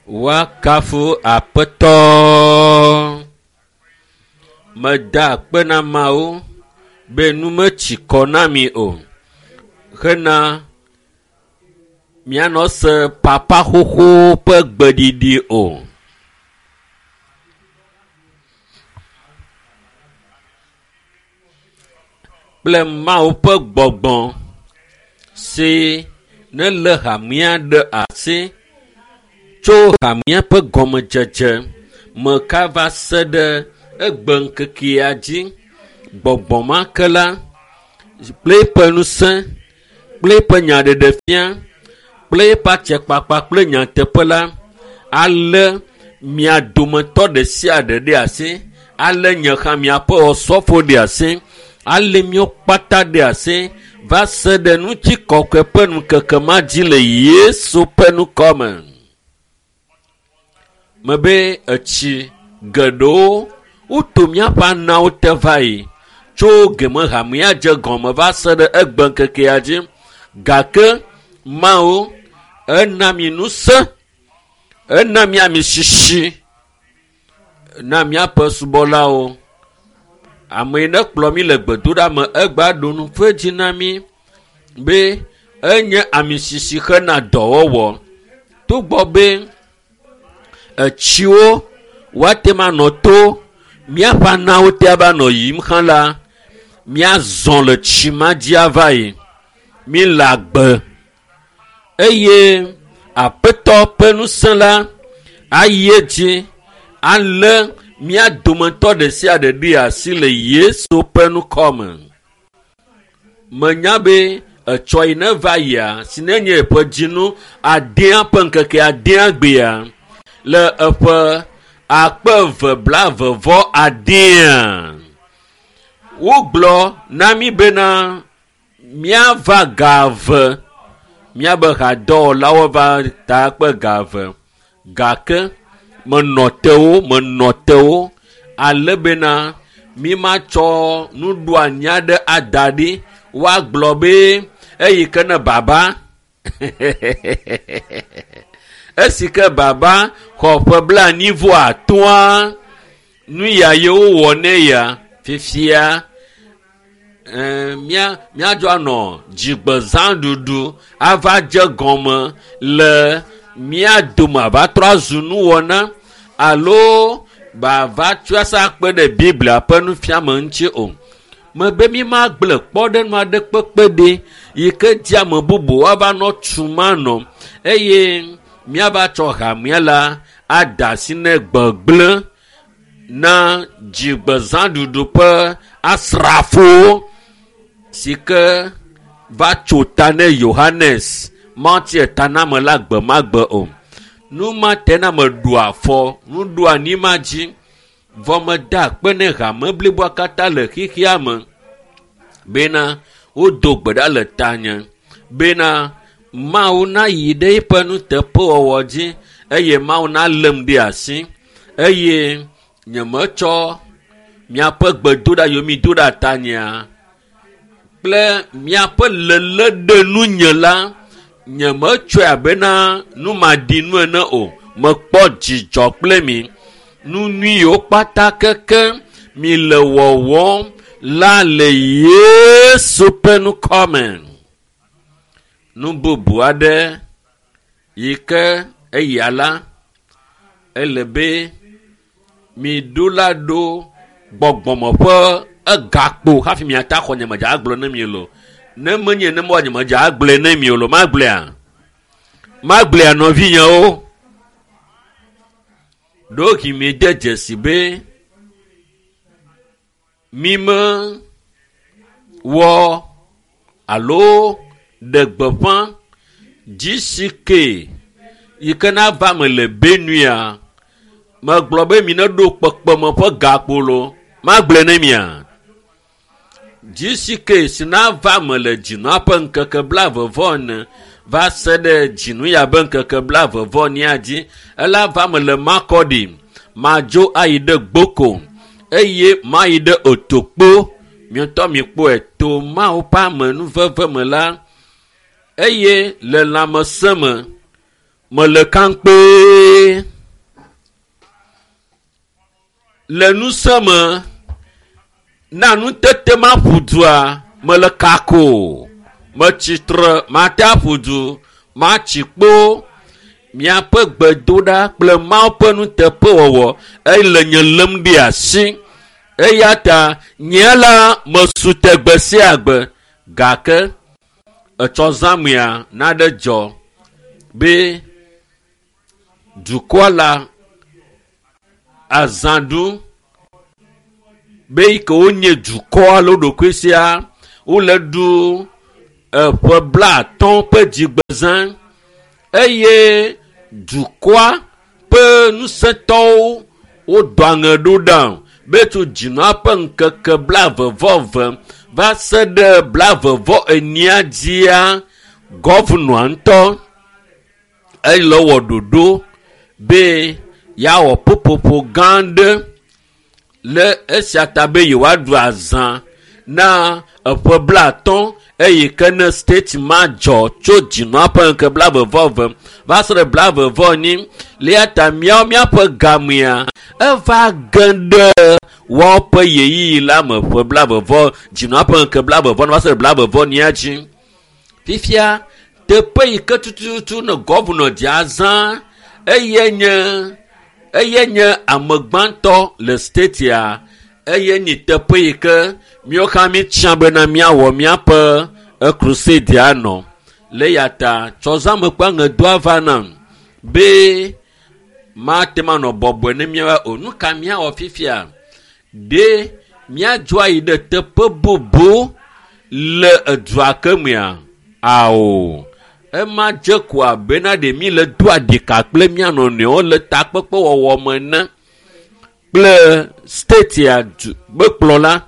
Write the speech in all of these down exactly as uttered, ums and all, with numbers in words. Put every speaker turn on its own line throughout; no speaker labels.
Woakafu Aƒetɔ. Meda akpe na Mawu be nu metsi kɔ na mi o. Hena mianɔ se papa xoxo ƒe gbeɖiɖi o. Kple Mawu ƒe gbɔgbɔ si nelé hamea ɖe asi tso hamea ƒe gɔmedzedze me ka va se ɖe egbe ŋkekea dzi. Gbɔgbɔ ma ke la kple eƒe ŋusẽ, kple eƒe nyaɖeɖefia, kple eƒe atsekpakpa kple nyateƒe la alé mia dometɔ ɖe sia ɖe ɖe asi, alé nye hã miaƒe osɔfo ɖe asi, alé míawo kpata ɖe asi va se ɖe ŋutikɔkɔe ƒe ŋkeke ma dzi le Yesu ƒe ŋkɔme. Mebe etsi geɖewo woto míaƒe anawo te va yi tso geme hamea dze gɔme va se ɖe egbe ŋkekea dzi. Gake Mawu ena mi ŋusẽ, ena mi ami sisi na míaƒe subɔlawo. Ame yi ne kplɔ mi le gbedoɖa me egba ɖo nu ƒe dzi na mi be enye ami sisi hena dɔwɔwɔ. Togbɔ be etsiwo woate ŋu anɔ to míaƒe anawo te ava nɔ yiyim hã la, míazɔ le tsi ma dzi ava yi. Mi le agbe eye Aƒetɔ ƒe ŋusẽ la ayi edzi alé mía dometɔ ɖe sia ɖe ɖe asi le Yesu ƒe ŋkɔme. Menya be etsɔ yi ne va yia, si ne nye eƒe dzinu adea ƒe ŋkeke adea gbea le eƒe akpe eve blaeve vɔ adea. Wogblɔ na mí bena míava ga eve, míabe hadɔwɔlawo va ta kpe ga eve gake menɔ te wo, menɔ te wo ale bena mi matsɔ nuɖoanyi aɖe ada ɖi woagblɔ be eyi ke ne baba. Esi ke baba xɔ ƒe blaenyi vɔ atɔ̃a, nu ya ye wowɔ nɛ ya fifia eh, mía míadzo anɔ dzigbezãɖuɖu ava dze gɔme le mía dome ava trɔ azu nuwɔna alo bava tsɔe asa kpe ɖe Biblia ƒe nufiame ŋuti o. Mebe mi magblẽ kpɔɖeŋu aɖe kpekpe ɖi yi ke di ame bubu woava nɔ tum anɔ eye míava tsɔ hamea la ada asi ne gbegblẽ na dzigbezãɖuɖu ƒe asrafowo si ke va tso ta ne Yohanes Mawutsi etaname la gbe ma gbe o. Nu ma te na meɖu afɔ nuɖoanyi ma dzi vɔ meda akpe ne hame bliboa katã le xexea me bena wodo gbe ɖa le tanye bena Mawu nayi ɖe eƒe nuteƒewɔwɔ dzi eye Mawu nalém ɖe asi eye nyemetsɔ miaƒe gbedoɖa yiwo mi do ɖa tanyea kple miaƒe lelé ɖe nunye la nyemetsɔe abena numaɖinu ene o. Mekpɔ dzidzɔ kple mi. Nu nyui yiwo kpata keke mi le wɔwɔm la le Yesu ƒe ŋkɔme. Nu bubu aɖe yi ke eya la ele be miɖo la ɖo gbɔgbɔme ƒe egakpo hafi miata xɔ nyemedza agblɔ ne mi lo. Ne menye ne mɔ nyemedza agblɔe ne mi o lo, magblɔea? Magblɔea nɔvinyewo? Ɖewohĩ miede dzesi be mi mewɔ alo ɖe gbeƒã G C K yi ke nava me le Benua. Megblɔ be mi neɖo kpekpeme ƒe gakpo lo. Magblɔe ne mia? G C K si nava me le dzinua ƒe ŋkeke blaeve vɔ ene va se ɖe dzinu ya be ŋkeke blaeve vɔ enea dzi. Ela va me le Makurdi, madzo ayi ɖe Gboko eye mayi ɖe Otokpo. Miatɔ mikpɔe to Mawu ƒe amenuveve me la eye le lãmesẽ me Mele kankpe. Le nusẽ me na nutete ma ƒu dua mele kako. Metsitre mate aƒu du matsi kpo. Miaƒe gbedoɖa kple Mawu ƒe nuteƒewɔwɔ ele nye lém ɖe asi. Eya ta nye la mesu te gbe sia gbe gake etsɔ zãmea naɖe dzɔ be dukɔa la azã ɖu be yi ke wonye dukɔ alo ɖokui sia wole ɖu eƒe blaatɔ̃ ƒe dzigbezã eye dukɔa ƒe ŋusẽtɔwo wodɔ aŋe ɖo ɖa be tso dzinua ƒe ŋkeke blaeve vɔ eve va se ɖe blaeve vɔ enyia dzia gɔvnɔa ŋutɔ ele wɔ ɖoɖo be yeawɔ ƒuƒoƒo gã aɖe le esia ta be yewoaɖu azã na eƒe blaatɔ̃ eye ke ne state ma dzɔ tso dzinua ƒe ŋkeke blaeve vɔ eve va se ɖe blaeve vɔ enyi le eya ta míawo míaƒe gamea eva ge ɖe woawo ƒe ɣeyiɣi la me ƒe blaeve vɔ dzinua ƒe ŋkeke blaeve vɔ va se ɖe blaeve vɔ enyia dzi. Fifia teƒe yi ke tututu ne gɔvnɔ dze azã eye nye eye nye ame gbãtɔ le statea eye nye teƒe yi ke míawo hã míetsã bena míawɔ míaƒe crusade anɔ. Le ya ta tsɔzãme ƒe aŋedoa va nam be mate ŋu anɔ bɔbɔe ne míawo o. Nu ka míawɔ fifia? Ɖe míadzo ayi ɖe teƒe bubu le edua ke mea? Ao. Ema dze ko abena ɖe mí le do aɖika kple mía nɔnɔewo le takpekpewɔwɔ me ene kple statea du be kplɔla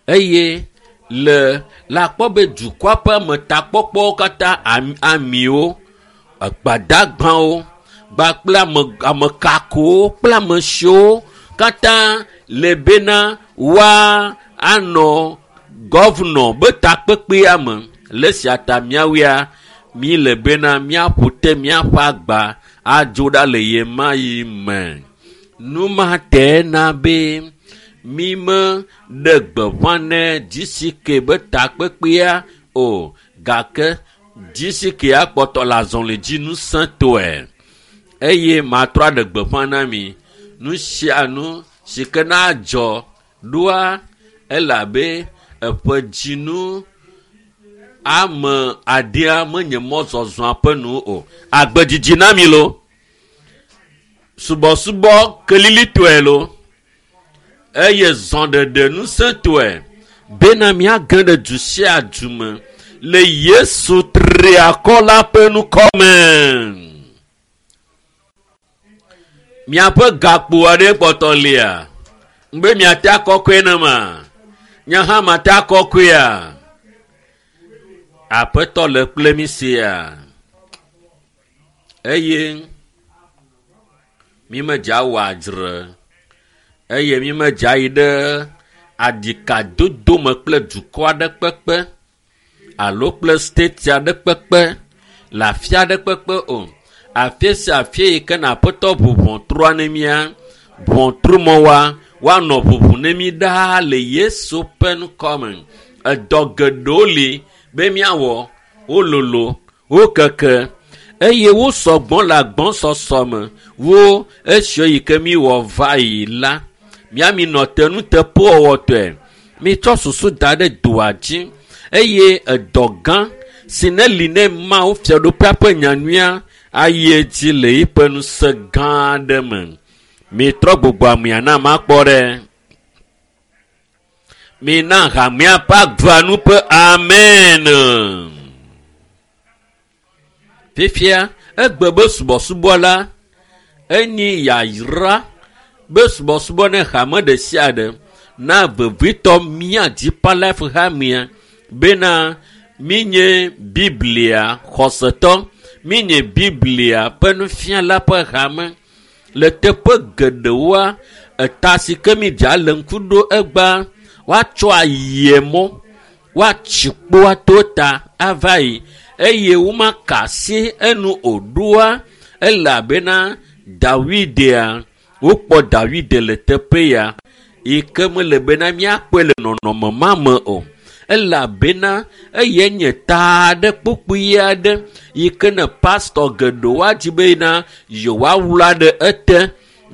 eye le le akpɔ be dukɔa ƒe ametakpɔkpɔwo katã amiwo, gbadagbawo kpakple ame amekakowo kple ame siwo katã le bena woa anɔ gɔvnɔ be takpekpea me. Le esia ta míawoea mí le bena míaƒo te míaƒe agba adzo ɖa le ɣe ma ɣi me. Nu ma te na be mí me ɖe gbeƒã ne G C K be takpekpea o gake G C K akpɔtɔ le azɔli dzi ŋusẽtɔe eye matrɔ aɖe gbeƒã na mi nu sia nu si ke na dzɔ ɖoa elabe eƒe dzinu ame adea menye mɔzɔzɔa ƒe nu o. Agbedzidzi na mi lo. Subɔsubɔ kelilitɔe lo. Eye zɔɖeɖe ŋusẽtɔe bena míage ɖe du sia du me le Yesu triakɔ la ƒe ŋkɔme. Miaƒe gakpo aɖe kpɔtɔ lia. Be miate akɔkɔe ne ma. Nye hã mate akɔkɔea. Aƒetɔ le kple mi sia. Eye mi medze awɔ adzre eye mi medze ayi ɖe aɖikadodo me kple dukɔ aɖe kpekpe alo kple state aɖe kpekpe le afi aɖe kpekpe o. Afi sia afi yi ke na aƒetɔ ʋu ʋɔtrua ne mía, ʋɔtrumɔwoa woanɔ ʋuʋu ne mí ɖaa le Yesu ƒe ŋkɔme. Edɔ geɖewo li be míawɔ, wololo, wokeke eye wo sɔgbɔ le agbɔsɔsɔ me wo esiwo yi ke míwɔ va yi la. Míami nɔ te nuteƒewɔwɔtɔe. Mitsɔ susu da ɖe doa dzi eye edɔ gã si ne li ne Mawu fiaɖuƒea ƒe nyanyuia ayi edzi le eƒe ŋusẽ gã aɖe me. Mitrɔ gbogbo amea na makpɔ ɖe. Mina hamea ƒe agba nu ƒe amen. Fifia egbe be subɔsubɔ la enyi yayra be subɔsubɔ ne hame ɖe sia ɖe na vevitɔ mía Deeper Life hamea bena míenye Biblia xɔsetɔ, míenye Biblia ƒe nufiala ƒe hame. Le teƒe geɖewoa, eta si ke mi dza le ŋku ɖo egbea, woatsɔ ayie mɔ, woatsi kpo ato ta ava yi eye womaka asi enu o ɖoa elabena Dawidea wokpɔ Dawide le teƒe ya yi ke mele bena míakpɔe le nɔnɔme ma me o. Elabena eye nye ta aɖe kpokpui aɖe yi ke ne pastɔ geɖewo adzi bena yewoawla ɖe ete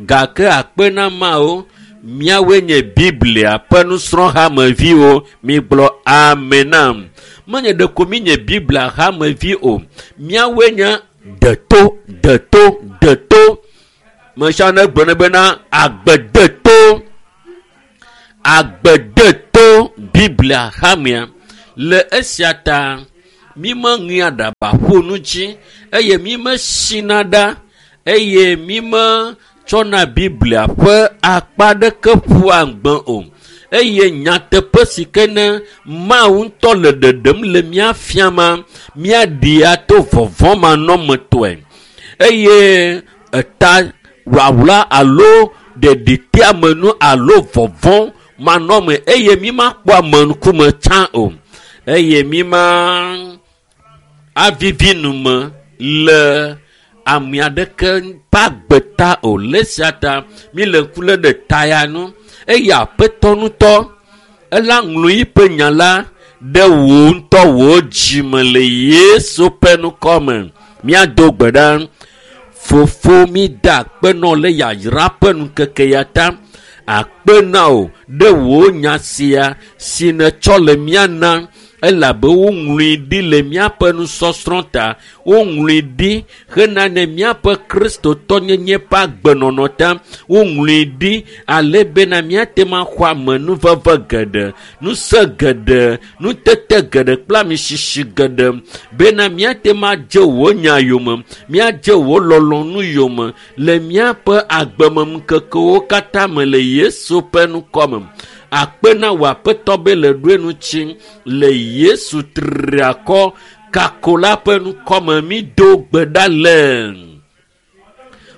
gake akpe na Mawu míawoe nye Biblia ƒe nusrɔ̃hameviwo migblɔ amen nam. Menye ɖeko mi nye Biblia hamevi o, míawoe nye deto deto deto. Mesia ne gblɔ ne bena agbe deto agbe deto Biblia hamea. Le esia ta mi meŋea aɖaba ƒu nu dzi eye mi mesina ɖa eye mi metsɔna Biblia ƒe akpa ɖeke ƒua ŋgbe o. Eye nyateƒe si ke ne Mawu ŋutɔ le ɖeɖem le mía fiama, míaɖi ato vɔvɔ̃ manɔmetɔe. Eye eta wlawla alo ɖeɖiteamenu alo vɔvɔ̃ manɔme eye mi makpɔ ame ŋkume tsã o. Eye mi ma avivi nu me le ame aɖeke ƒe agbe ta o. Le esia ta mi le ŋku lém ɖe ta ya nu eye aƒetɔ ŋutɔ ela ŋlɔ yiƒe nya la ɖe wò ŋutɔ wò dzime le Yesu ƒe ŋkɔ me. Míado gbe ɖa. Fofo mi da akpe nɔ le yayra ƒe ŋkeke ya ta. Akpe na wò ɖe wò nya sia si nètsɔ le mía nam elabe woŋlɔe ɖi le míaƒe nusɔsrɔ̃ ta. Woŋlɔe ɖi hena ne míaƒe kristotɔnyenye ƒe agbenɔnɔ ta. Woŋlɔe ɖi ale bena míate ŋu axɔ amenuveve geɖe, ŋusẽ geɖe, nutete geɖe kple amisisi geɖe bena míate ŋu adze wò nya yome, míadze wò lɔlɔ̃nu yome le míaƒe agbemeŋkekewo katã me le Yesu ƒe ŋkɔ me. Akpe na wò aƒetɔ be le ɖoe ŋuti le Yesu triakɔ kako la ƒe ŋkɔ me mi do gbe ɖa le.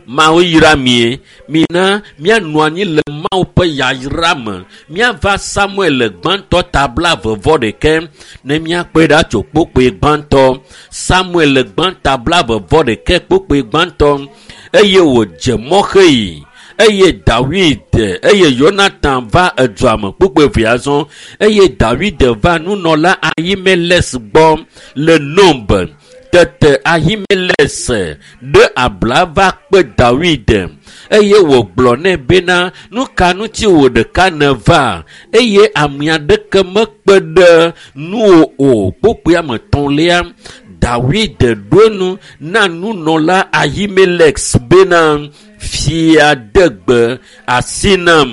Mawu yra mie, mina míanɔ anyi le Mawu ƒe yayra me. Míava Samuel gbãtɔ ta blaeve vɔ ɖekɛ ne míakpɔe ɖa tso kpokpoe gbãtɔ. Samuel gbãtɔ blaeve vɔ ɖekɛ kpokpoe gbãtɔ eye wòdze mɔ xeyi. Eye Dawid eye Yonatan va edua me kpokpoe evea zɔ eye Dawid va nunɔla Ahimelek gbɔ le Nob. Tete Ahimelek ɖe abla va kpe Dawid eye wògblɔ nɛ bena nu ka ŋuti wò ɖeka nèva eye ame aɖeke mekpe ɖe nuwò o. Kpokpoea me tɔ̃lia Dawid ɖo nu na nunɔla Ahimelek bena fia de gbe asi nam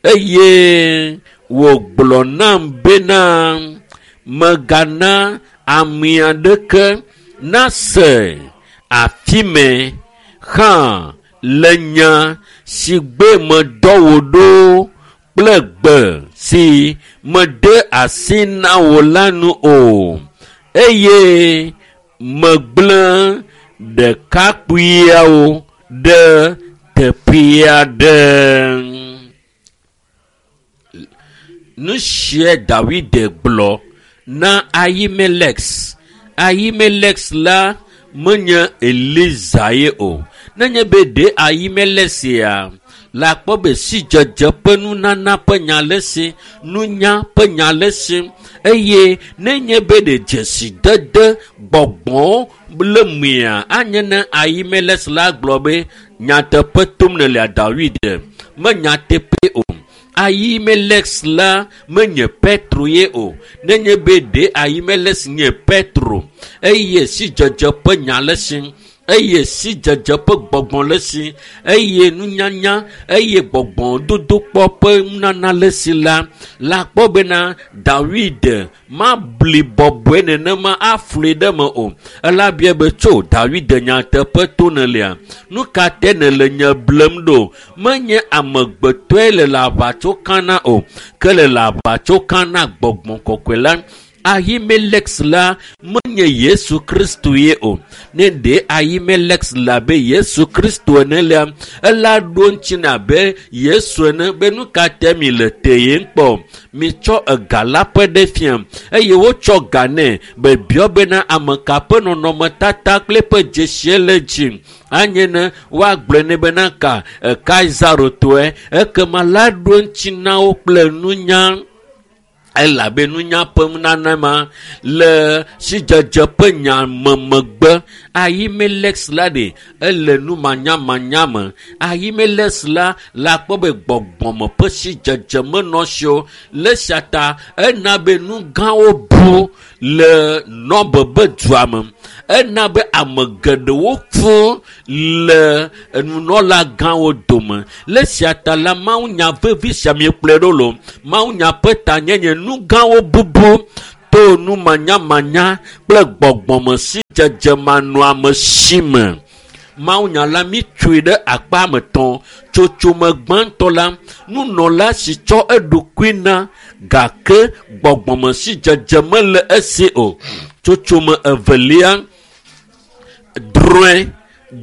eye wògblɔ nam bena megana ame aɖeke nase afi me hã le nya si gbe medɔ wò ɖo kple gbe si mede asi na wò la nu o. Eye megblẽ ɖekakpuiawo ɖe teƒe aɖe. Nu sie Dawid gblɔ na Ahimelek. Ahimelek la menye Eliza ye o. Nenye be ɖe Ahimelek ya la kpɔ be sidzedze ƒe nunana ƒe nya le si, nunya ƒe nya le si eye nenye be ɖe dzesidede gbɔgbɔ le mea anye ne Ahimelek la gblɔ be nyateƒe tom nèlea Dawid me nyateƒe o. Ahimelek la menye Petro ye o. Nenye be ɖe Ahimelek nye Petro eye sidzedze ƒe nya le si eye sidzedze ƒe gbɔgbɔ le si eye nunyanya eye gbɔgbɔ dodokpɔ ƒe nunana le si la la kpɔ bena Dawid mabli bɔbɔe nenema aflui ɖe me o. Elabia be tso Dawid nyateƒe to nèlea? Nu ka te nèle nye blem ɖo? Menye amegbetɔe le le aʋatso kana o, ke le le aʋatso kana gbɔgbɔ kɔkɔe la. Ahimelex la menye Yesu Kristu ye o. Ne ɖe Ahimelex la be Yesu Kristu ene la, ela ɖo ŋuti na be Yesu ene be nu ka te mi le teyem kpɔ. Mitsɔ ega la ƒe ɖe fia eye wotsɔ ga nɛ be biɔ bena ame ka ƒe nɔnɔmetata kple eƒe dzesie le dzi. Anye ne woagblɔe nɛ bena ka Kaisaro tɔe, ekema la ɖo ŋuti na wo kple nunya. Elabe nunya ƒe nunana ma le sidzedze ƒe nya me megbe. Ahimelex la ɖe ele numanyamanya me. Ahimelex la la kpɔ be gbɔgbɔme ƒe sidzedze menɔ si o. Le sia ta ena be nu gãwo bu le Nɔbe be dua me. Ena be ame geɖewo ku le nunɔla gãwo dome. Le sia ta la mawunya vevi sia miekplɔe ɖo lo. Mawunya ƒe tanyenye nu gãwo bubu to numanyamanya kple gbɔgbɔme sidzedze manɔamesi me. Mawunya la mitsoe ɖe akpa me tɔn. Tsotsome gbãtɔ la, nunɔla si tsɔ eɖokui na gake gbɔgbɔme sidzedze mele esi o. Tsotsome evelia, drɔ̃e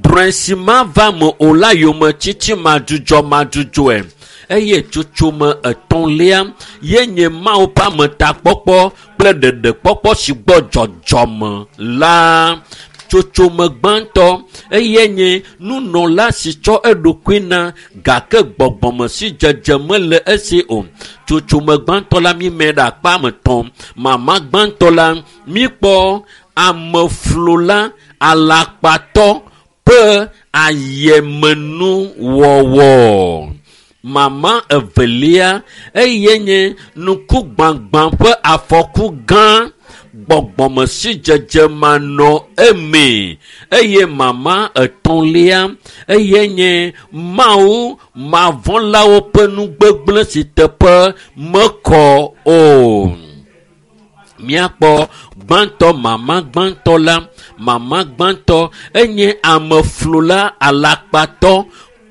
drɔ̃e si mava me o la yome tsitsi madzudzɔ madzudzɔe. Eye tsotsome etɔ̃lia ye nye Mawu ƒe ametakpɔkpɔ kple ɖeɖekpɔkpɔ si gbɔ dzɔdzɔme la. Tsotsome gbãtɔ eye nye nunɔla si tsɔ eɖokui na gake gbɔgbɔme si dzedze mele esi o. Tsotsome gbãtɔ la mime ɖe akpa me tɔn. Mama gbãtɔ la mikpɔ ameflola alakpatɔ ƒe ayemenuwɔwɔ. Mama evelia eye nye nukugbãgbã ƒe afɔku gã gbɔgbɔme si dzedze manɔ eme. Eye mama etɔ̃lia eye nye Mawu mavɔ̃lawo ƒe nugbegblẽ si teƒe mekɔ o. Míakpɔ gbãtɔ mama gbãtɔ la, mama gbãtɔ enye ameflola alakpatɔ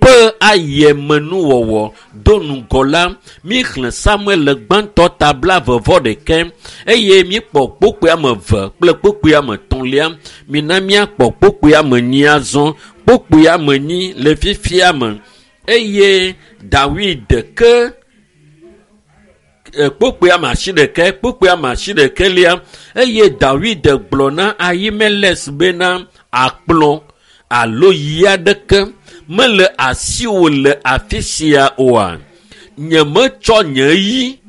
ƒe ayemenuwɔwɔ do ŋgɔ la. Míexlẽ Samuel le gbãtɔ ta blaeve vɔ ɖekɛ eye míekpɔ kpokpoe ame eve kple kpokpoe ame etɔ̃lia. Mina míakpɔ kpokpoe ame enyi azɔ. Kpokpoe ame enyi le fifia me eye Dawid ke kpokpoe ame asi ɖekɛ, kpokpoe ame asi ɖekɛlia eye Dawid gblɔ na Ahimelex bena akplɔ alo yi aɖeke mele asiwò le afi sia oa. Nyemetsɔ nye yi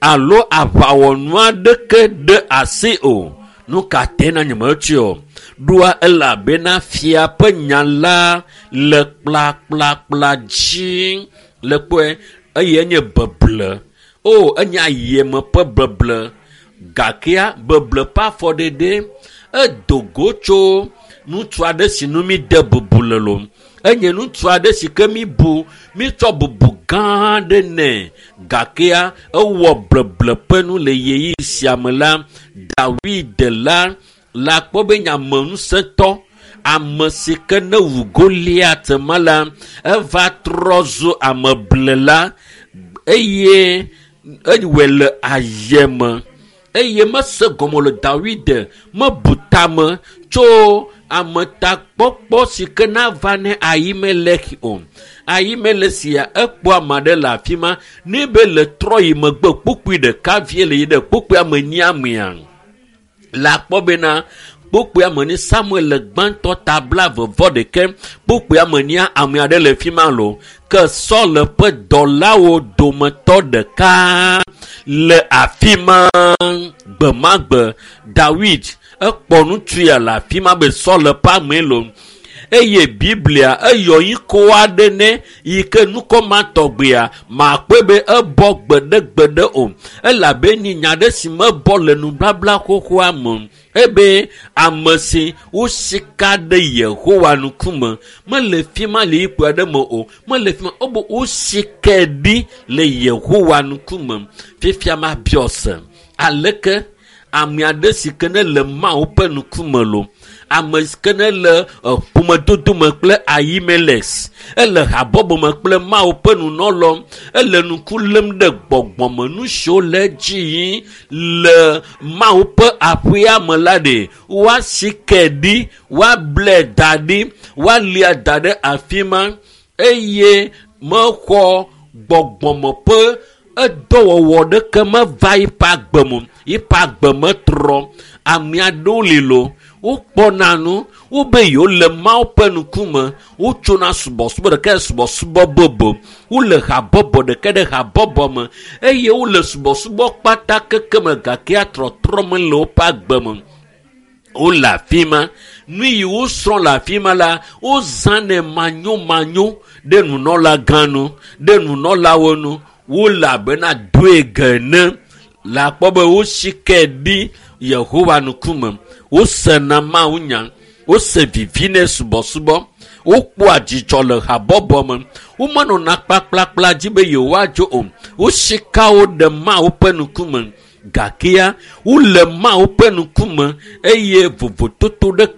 alo aʋawɔnu aɖeke ɖe asi o. Nu ka te na nyemetsɔe o? Ɖoa elabena fia ƒe nya la le kplakplakpla dzi le kpɔe eye enye beble. O, enye ayeme ƒe beble. Gakea beble ƒe afɔɖeɖe edo go tso ŋutsu aɖe si nu mi de bubu le lo. Enye ŋutsu aɖe si ke mi bu, mi tsɔ bubu gã aɖe nɛ. Gakea ewɔ bleble ƒe nu le ɣeyiɣi sia me la, Dawid la la kpɔ be nye ame ŋusẽtɔ, ame si ke ne wu Goliat ma la, eva trɔ zu ameblela eye ewɔe le ayeme. Eye mese gɔme le Dawid mebu tame tso ametakpɔkpɔ si ke nava ne Ahimelek o. Ahimelek sia ekpɔ ame aɖe le afi ma ne be le trɔ yi megbe kpokpoe ɖeka vie le yi ɖe kpokpoe ame enyia mea. La kpɔ bena kpokpoe ame enyi Samuel le gbãtɔ ta blaeve vɔ ɖekɛ kpokpoe ame enyia ame aɖe le fi ma lo. Ke Saul ƒe dɔlawo dometɔ ɖeka le afi ma gbemagbe. Dawid ekpɔ ŋutsu ya le afi ma be Saul ƒe amee lo. Eye Biblia eyɔ ŋkɔ aɖe nɛ yi ke nukɔ ma tɔgbea makpɔe be ebɔ gbeɖegbeɖe o. Elabe ni nya ɖe si mebɔ le nubabla xoxoa me ebe ame si wosika ɖe Yehowa ŋkume mele fi ma le yikpo aɖe me o, mele fi ma ebe wosikae ɖi le Yehowa ŋkume. Fifia ma biɔ se aleke ame aɖe si ke ne le Mawu ƒe ŋkume lo, Ame si ke ne le ƒomedodo me kple Ahimelek, ele habɔbɔ me kple Mawu ƒe nunɔlɔ, ele ŋku lém ɖe gbɔgbɔme nu siwo le edzi yim le Mawu ƒe aƒea me la ɖe woasike ɖi, woable da ɖi, woalia da ɖe afi ma eye mexɔ gbɔgbɔme ƒe edɔwɔwɔ ɖeke meva yiƒe agbe me o. Yiƒe agbe metrɔ. Ame aɖewo li lo, wokpɔna nu, wobe yewo le Mawu ƒe ŋkume, wotsona subɔsubɔ ɖeka ɖe subɔsubɔ bubu, wole habɔbɔ ɖeka ɖe habɔbɔ me eye wole subɔsubɔ kpata keke me gake trɔtrɔ mele woƒe agbe me. Wole afi ma. Nu yi wosrɔ̃ le afi ma la, wozãnɛ manyomanyo ɖe nunɔlagã nu, ɖe nunɔlawo nu. Wole abena doe ene. Le akpɔ be wosike ɖi Yehowa ŋkume. Wosena Mawu nya. Wose vivi ne subɔsubɔ. Wokpɔa dzidzɔ le habɔbɔ me. Womenɔna kplakplakpla dzi be yewoadzo o. Wosika wo ɖe Mawu ƒe ŋkume. Gakea wole Mawu ƒe ŋkume eye vovototo ɖe